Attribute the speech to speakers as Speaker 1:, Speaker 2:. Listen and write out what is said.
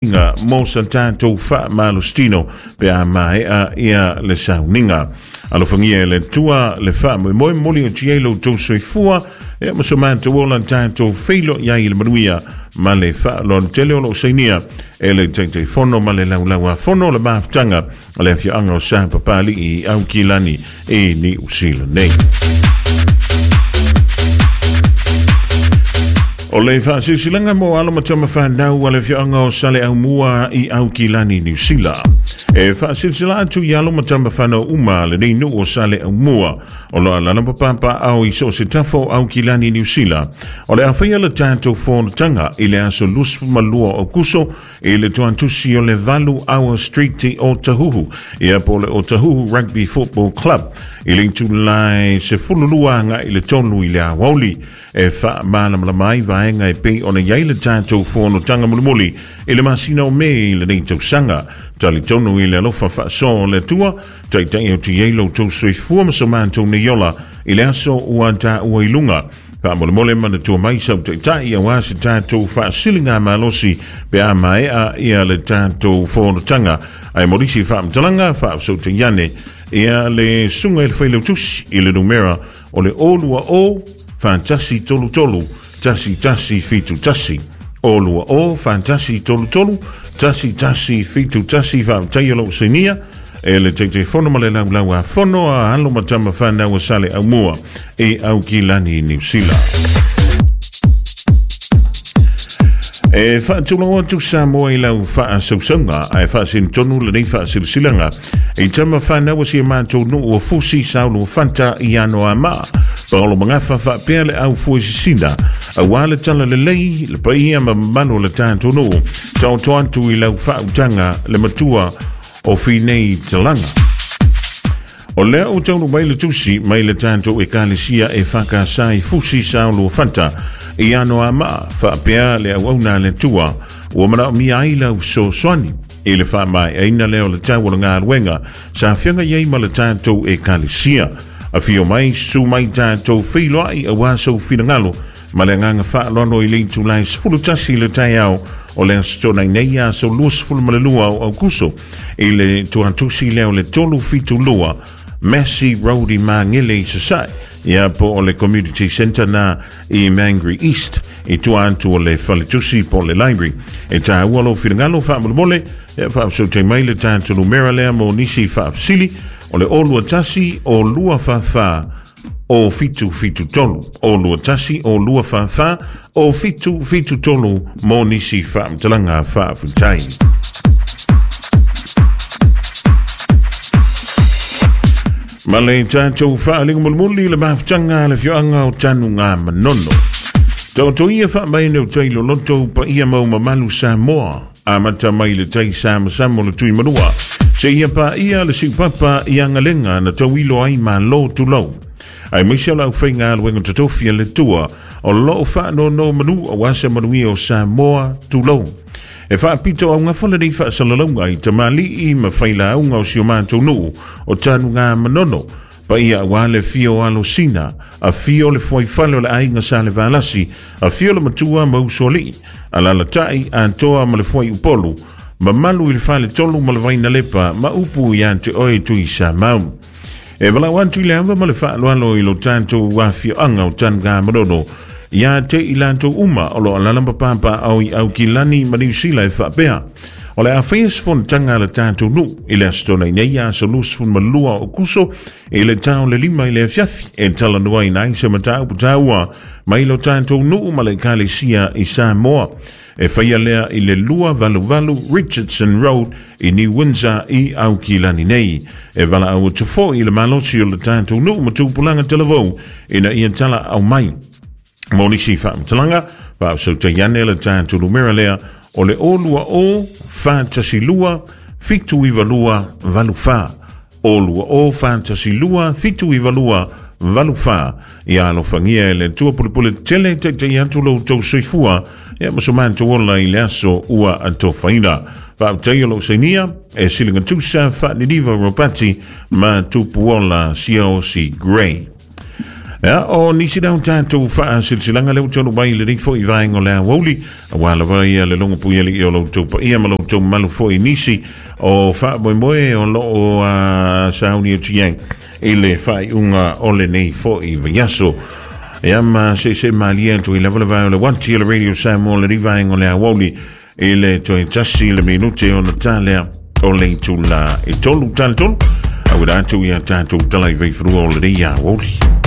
Speaker 1: Nga mo sa tatou faamalositino pe a maea ia le sauniga. Alofagia e le Atua le faamoemoe momoli atu i ai lo outou soifua ia ma so matou ola tatou feiloai ai i le manuia ma le faaaloalo tele o loo sainia e le Taitaifono ma le Laulauafono o le Mafutaga a le Afioaga o Sapapalii i Aukilani i Niu Sila nei. O le faasilasilaga mo alo ma tama fanau a le afioaga o Saleaaumua i Aukilani, Niu Sila. E faasilasila atu i alo ma tama fanau uma a lenei nuu o Saleaaumua o lo o alaala ma papaaao i so o se tafa o Aukilani, Niu Sila. O le a faia le tatou fonotaga i le aso 22 o Aokuso i le tuantusi o le 8 Hour Street i Otahuhu, ia po o le Otahuhu Rugby Football Club, i le itulai 12 agai i le 3 i le aoauli. E faamalamalama ai vaega e pei ona i ai le tatou fonotaga mulimuli i le masina o Me i lenei tausaga. Talitonu i le alofa faasoa o le Atua, taitai atu i ai lo outou soifua ma so matou nei ola i le aso ua taua i luga. Faamolemole manatua mai sau taitai aua se tatou faasiliga malosi pe a maea ia le tatou fonotaga. Ae mo nisi faamatalaga faafesootai ane ia le susuga i le Failautusi i le numera o le 020 4133 1171. 020 4133 1171. Faafetai o lou sainia e le Taitaifono ma le Laulau-a-Fono a alo ma tama fanau a Saleaaumua i Aukilani, Niu Sila. E faatulou atu Samoa i lau faasausauga ae faasinotonu lenei faasilasilaga i tama fanau a si a matou nuu o Fusi Saulo Fanta i Anoamaa Paolo Magafa faapea le au fuesisina aua le tala lelei le paia ma mamalu o le tatou nuu taoto atu i lau faautaga le matua o Finei Talaga. O lea ua taunuu mai le tusi mai le tatou Ekalesia e FKS i Fusi Sao Fanta i Anoamaa faapea le auauna a le Atua ua manaomia ai lau fesoasoani i le faamaeaina lea o le tau o le galuega sa feagai ai ma le tatou Ekalesia. Afio mai, susu mai tatou feiloai aua sou finagalo ma le agaga faaaloalo i le itula e 11 i le taeao o le Aso Toonai nei aso 22 o Aukuso i le tuatusi lea o le 372 Massey Road i Māngere i Sasae, ia po o le Community Centre na i Mangere East i tua atu o le faletusi po o le library. E tāua lou finagalo faamolemole, ia faafesootai mai le tatou numera lea mo nisi faafesili o le 021 o 244 o 773 o 21 o 244 o 773 mo nisi faamatalaga faafetai. Ma le tatou faaliga mulimuli le mafutaga a le afioaga o Tanuga Manono. Taoto ia faamaine o tai loloto paia mau mamalu Samoa. Amata mai le tai samasama o le Tuimanua, seia paia le siupapa i Agalega na tauilo ai Malo tulou. Aemaise o le aufaigaluega totofi a le Atua o lo o faanonomanu aua se manuia o Samoa tulou. E faapito augafa lenei faasalalauga i tamalii ma failauga o si o matou nuu o Tanugamanono, Paia aua le afio o Alosina, afio le fuaifale o le aiga Salevalasi, afio le matua ma Usoalii, alalatai Atoa ma le fuaiupolu, mamalu i le faletolu ma le Vainalepa ma upu ia te oe Tuisamau. E valaau atu i le ava ma le faaaloalo i lo tatou afioaga o Tanugamanono, ia te i latou uma o lo o alaala ma papaaao i Aukilani ma Niu Sila e faapea, O le a faia se fonotaga a le tatou nuu i le Aso Toonai nei aso 22 o Kuso i le tao le 5 i le afiafi e talanoaina ai se mataupu taua mai lo tatou nuu ma le Ekalesia i Samoa. E faia lea i le 288 Richardson Road i New Windsor i Aukilani nei. E valaau atu foi i le malosi o le tatou nuu ma tupulaga talavou ina ia talaau mai. Mo nisi faamatalaga, faafesootai ane le tatou numera lea o le 020 412 792 84. 020 412 792 84. Ia alofagia e le Atua pulepule tele taitai atu lo outou soifua ia ma so matou ola i le aso ua atofaina. Faafetai o lou sainia e siligatusa Faaniniva Ropati ma Tupuola Siaosi Gray. Ia, o nisi lea o tatou faasilasilaga lea ua taunuu mai i lenei foi vaega o le aoauli, aua lava ia le logo puialii o lo outou paia ma lo outou mamalu foi i nisi o faamoemoe o lo o sauni atu i ai i le faaiuga o lenei foi vaiaso. Ia ma seese malie atu i lava le vae o le uati o le Radio Samoa o lenei vaega o le aoauli i le toe 1 le minute ona ta lea o le itula e 3 tala 3 auina atu ia tatou tala i vaifanua o lenei aoauli.